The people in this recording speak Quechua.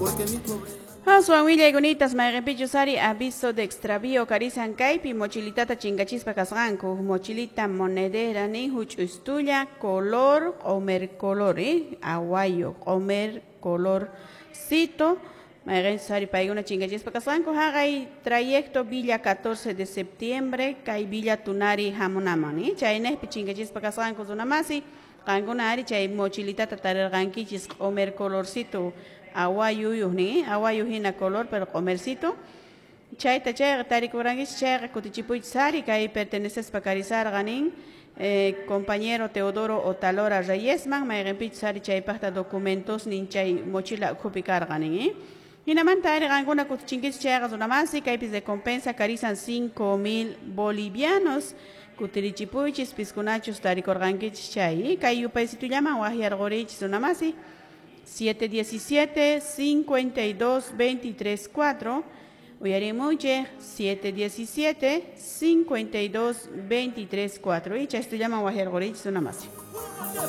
Porque mi pobre. Aswan willaykunatas mayqinpichus ari aviso de extravío karisan kaypi mochilitata chinkachispa kasqanku, mochilita monedera nin, huch'uystulla, color q'umer color, awayo q'umer colorcito, mayqinchus ari paykuna chinkachispa kasqanku haqay trayecto Villa 14 de septiembre kay Villa Tunari hamunaman, chaynejpi chinkachispa kasqanku runamasi. Qankuna ari chay mochilitata tarirqankichis q'umer colorcito awayuyuq nin, awayu hina color pero q'umercito, chayta chayqa tarikurankichis chayqa kutichipuychis ari kay pertenecespa karisarqa nin compañero Teodoro Otalora Reyesman, mayqinpichus ari chaypaqta documentos nin chay mochila ukhupi karqa nin. Hinamanta ari qankuna kutichinkichis chayqa runamasi kaypi recompensa karisan 5000 bolivianos, kutirichipuychis piskunachus tarikurqankichis chay kay yupaysitullaman waqyarqurichis runamasi 717 52 23 4, uyarimuche 717 52 23 4 y chaystullaman waqyarqurichis runamasi.